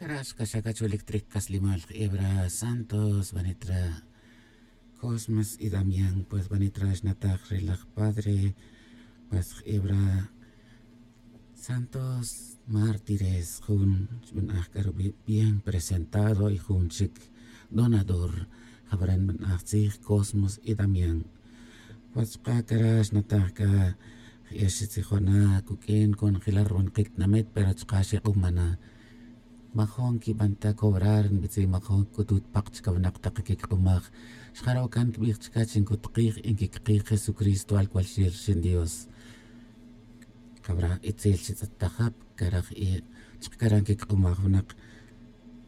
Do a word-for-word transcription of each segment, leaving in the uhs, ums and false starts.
Cara' xkaxa' cacholic tric caslimal jebra santos banitra cosmos y damián pues banitra xnataj ri laj padre. Pues jebra santos mártires jun xbanaj c'a rubi' bien presentado y jun chic donador. Jabra nbanaj tzij cosmos y damián. Pues chuka' cara' xnataj c'a je' xitzijona cuq'uin conojel ri ruwinajic tinamit pero chuka' xik'uma na. Majun quiban ta cobrar nbitzin majun cc'utut pak chica winak tak quiq'umaj. Xjaro' can quibij chica chi ncutkij y nquiquikij jesucristo alcual xil rixin dios. Jabra' itzel xitz'et ta jab cara' je' chuka' cara' nquiq'umaj winak.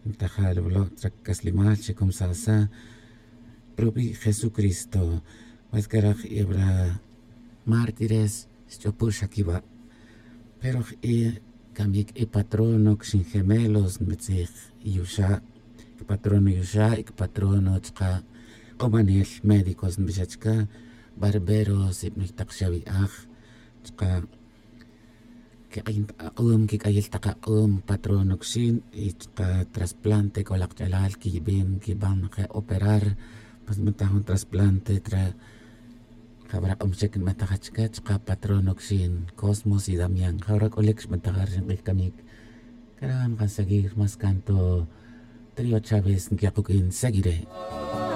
Ntajal wilo' tzra' caslimal xicumsasa' rubi' jesucristo. Pues cara' je' wara' mártires xch'upu' xa quiwa'. Pero je' camic i patrono quixin gemelos nbitzij yuxa'. Quipatrono yuxa' y quipatrono chuka' k'umanel médicos nbixa' chuka' barberos y bnik tak xawi'aj chuka' quik'ayin tak ak'um quic'ayil tak ak'um patrono quixin y chuka' trasplante c'o lak ch'alal quiyibin quiban je' operar. Pues nbenta jun trasplante tra jawara' k'o mixec nbentaja chica chuka' patrono quixin cosmos y damián jawara' c'olic xbentaja ri xink'ij camic. Cara' nkan seguir mas canto trio chaves nquiya kuq'uin seguire'.